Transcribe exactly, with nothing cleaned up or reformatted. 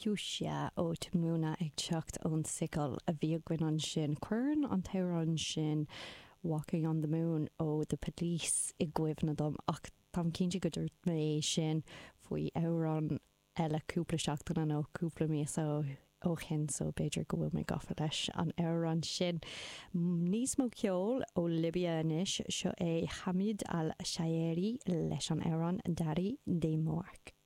Fuchsia ó Tamuna ag teacht ón tSicil a bhí againn ansin. Cuireann an t-amhrán sin Walking on the Moon ó The Police i gcuimhne dom ach táim cinnte go dúirt mé sin faoi amhrán eile cúpla seachtain nó cúpla míosa ó shin so b'fhéidir go bhfuil mé gafa leis an amhrán sin. Níos mó ceol ó Libia anois seo é Hamid Al Shaeri leis an amhrán Dari Demark.